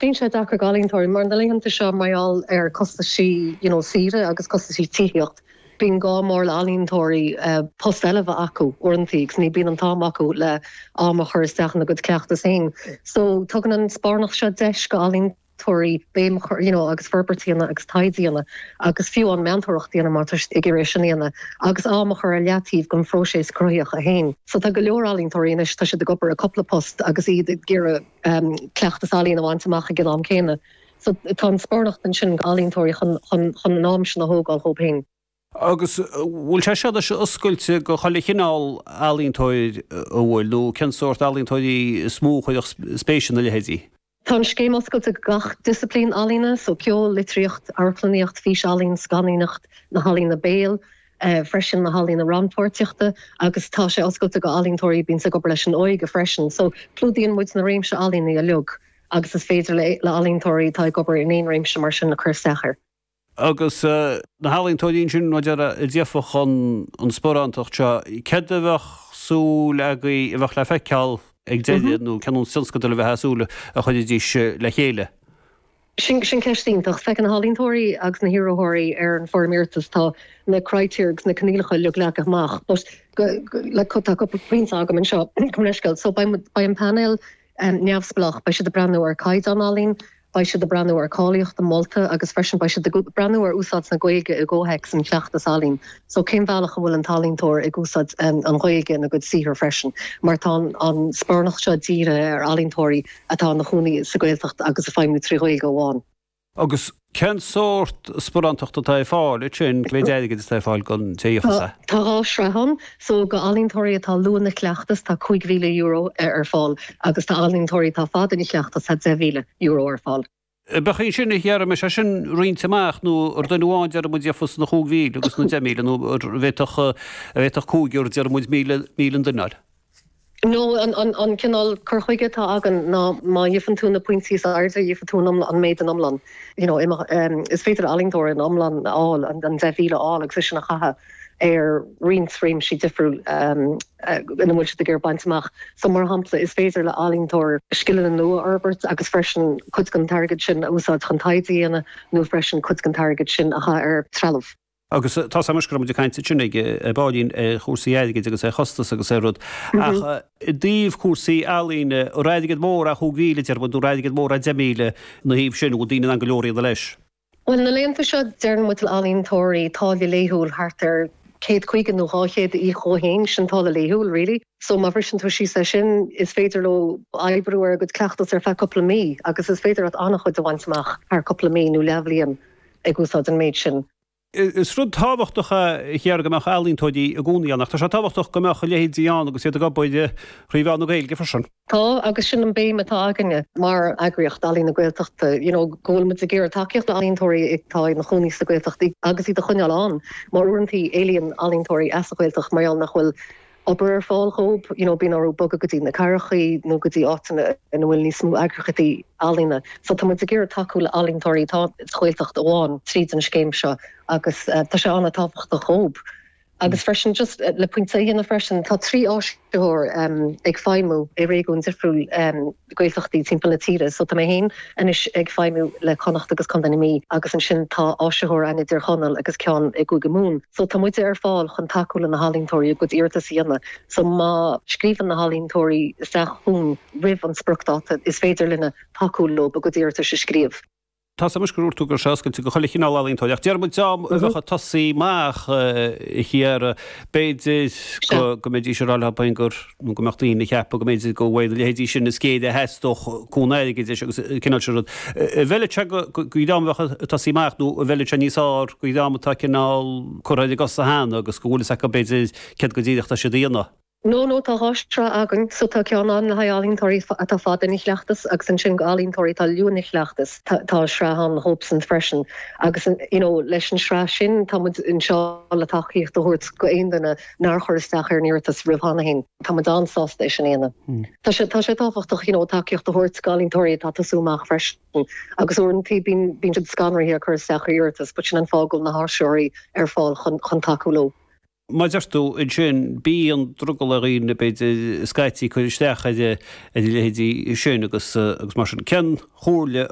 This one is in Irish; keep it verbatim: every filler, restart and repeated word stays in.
Bíonn sé deacair d'ealaíontóirí mar na laethanta seo mar gheall ar costaisí you know, saoire agus costaisí tithíocht. Bíonn gá mór le ealaíontóirí uh, post eile bheith acu uaireanta agus ní bíonn an t-am acu le am a chur isteach ina gcuid cleachtas féin. So tugann an sparánacht seo deis go ealaíontóirí béim you know, agus forbairt a dhéanamh agus taighde a dhéanamh agus fiú an meantóireacht a dhéanamh má tá ag iarraidh sin a dhéanamh agus am a chur ar leataobh don phróiseas cruthaitheach a féin. So tá go leor ealaíontóirí anois tá siad ag obair i cúpla post agus iad ag iarraidh um, cleachtas ealaíon a bhaint amach ag an am céanna. So tá an sparánacht ansin ealaíontóirí chun chun an am sin a thógáil dóibh féin. Agus bhfuil sé seo sé oscailte go chuile chineál ealaíontóir a bhfuil nó cén sórt ealaíontóirí is mó a chuirfeadh spéis ina leithéidí. Tá an scéim oscailte gach disciplín ealaíne, so ceol, litríocht, amharclannaíocht, físealaín, scannánaíocht, na healaíona béil, uh, freisin na healaíona rannpháirtíochta agus tá sé oscailte go ealaíontóirí bíonn ag obair leis an óige freisin, so clúdaíonn muid na réimse ealaíne uilig agus is féidir le le ealaíontóirí atá ag obair in aon réimse mar sin a chur isteach air. Agus uh, na healaíontóirí sin nó a d'fhéadfadh an an sparántacht seo, céard a bheadh súil agaibh a bheadh le feiceáil ag deireadh nó cén tionscadal a bheith súil a chuirfidís le chéile. Sin sin ceist iontach feiceann na healaíontóirí agus na hiarrthóirí ar an bhfoirm iarratais tá na critéir agus na coinníollacha uilig leagtha amach, but le tá cúpla pointe agam anseo chun so beidh an panel um, neamhspleách beidh siad ag breathnú ar caighdeán ealaíon, beidh siad ag breathnú ar cáilíocht an molta agus freisin beidh siad ag breathnú ar úsáid na Gaeilge i gcomhthéacs an chleachtas ealaíon. So cén bhealach a bhfuil an t-ealaíontóir ag úsáid um, an Ghaeilge ina gcuid saothar freisin, mar tá an sparánacht seo dírithe ar ealaíontóirí atá ina gcónaí sa Ghaeltacht agus ag feidhmiú trí Ghaeilge amháin. Agus cén sórt sparántacht atá ar fáil sin le airgead atá ar fáil don té Tá dhá shraith ann, so go ealaíontóirí atá luath ina gcleachtas tá cúig mhíle euro ar fáil agus tá ealaíontóirí atá fada ina gcleachtas tá deich mhíle euro ar fáil. Bheadh sin a chearm sé sin roinnte amach nó ar duine amháin deir muid fós na cúig mhíle agus na deich míle nó bheadh bheadh cúigear deir muid míle míle an duine. No an, an, an cineál cur chuige atá againn ná má fhaigheann tú na pointí is airde gheobhaidh tú an, an méid an iomlán. You know, um, is féidir ealaíontóir an iomlán fháil an, an deich mhíle fháil agus sin a chaitheamh ar roinnt réimsí difriúil um, uh, ina bhfuil siad ag iarraidh baint amach. So mar shampla is féidir le ealaíontóir scileanna nua a fhorbairt agus freisin cuid den airgead sin a úsáid chun taighde a dhéanamh nó freisin cuid den airgead sin a chaitheamh ar trealamh. Agus tá mu go de caint sin ag báín chúrsaí airgid agus é chostas agus é rud ach i dtaobh cúrsaí ealaíne airgead mór a chúig mhíle ar nó airgead mór a deich míle na thaobh sin bhfuil daoine an go leor leis. Well na laethanta seo deireann muid le ealaíontóirí táille laethúil thart ar céad caoga nó dhá chéad í chohéin sin táille laethúil really. So má bhriseann tú síos é sin is féidir leo oibriú ar a gcuid cleachtas ar feadh cúpla mí agus is féidir at an-chuid a bhaint amach thar cúpla mí nó leathbhliain ag úsáid an méid sin. Is rud tábhachtach a chear go mbeadh ealaíontóirí i gcónaí ann, ach tá sé tábhachtach go mbeadh a leithéidí ann agus iad ag obair trí mheán na Gaeilge freisin. Tá agus sin an béim atá againne mar eagraíocht Ealaín na Gaeltachta, you know, go bhfuil muid ag iarraidh tacaíocht le ealaíontóirí atá ina gcónaí sa Ghaeltacht agus iad a choinneáil ann, mar uaireanta éalaíonn ealaíontóirí as an Ghaeltacht mar nach bhfuil obair ar fáil dóibh, you know, bíonn orthu bogadh go dtí na cathracha nó go dtí áiteanna ina bhfuil níos mó eagraíochtaí ealaíne. So tá muid ag iarraidh tacú le ealaíontóirí atá sa Ghaeltacht amháin tríd an scéim seo agus uh, tá sé an-tábhachtach dóibh. Agus freisin just uh, le pointe a dhéanamh freisin tá trí áisitheoir um, ag feidhmiú i réigiún difriúil um, Gaeltachtaí timpeall na tíre, so tá mé féin anois ag feidhmiú le Connacht agus Contae na Mí agus ansin tá áisitheoir ann i dTír Chonaill agus ceann i gCúige Mumhan. So tá muid ar fáil chun tacú le na healaíontóirí a gcuid iarratas a dhéanamh. So má scríobhann na healaíontóirí isteach chugainn roimh an spriocdháta is féidir linne tacú leo a gcuid iarratas a scríobh. Tá mus gur tú gur seachailte go chuile chineál ealaíontóir, ach deir muid dá bheadh ag tosaí amach thiar b'fhéidir go mbeidís ag rá gur nó go mbeadh daoine ag ceapadh go mb'fhéidir go bhfuil a leithéidí sin is géire a theastódh cúnamh airgid agus cineál sin rud. Bhfeilfeadh sé go dream a bheadh ag tosaí amach nó bhfeilfeadh sé níos fearr go dream atá cineál curtha ar a gcosa cheana agus go bhfuil fhios acu b'fhéidir céard go díreach tá siad a dhéanamh. No no tá dhá shraith againn, so tá ceann ann le haghaidh ealaíontóirí atá fada ina gcleachtas agus ansin go ealaíontóirí atá luath ina gcleachtas tá sraith ann dóibhsan freisin agus you know, leis an sraith sin tá muid anseo le tacaíocht a thabhairt go aon duine nár chuir isteach ar an iarratas roimh cheana féin. Tá muid an-sásta é sin a dhéanamh. Hmm. Tá sé tá sé tábhachtach you know, tacaíocht a thabhairt go ealaíontóirí atá ag tosú amach freisin agus uaireanta bíonn bíonn siad scanraithe ag cur isteach ar iarratas, but sin an fáth go bhfuil na háisitheoirí ar fáil chun chun tacú leo. Mar a deir tú ansin, bíonn drogall ar dhaoine, b'fhéidir, scaití cur isteach ar a leithéidí sin agus agus mar sin. Cén chomhairle a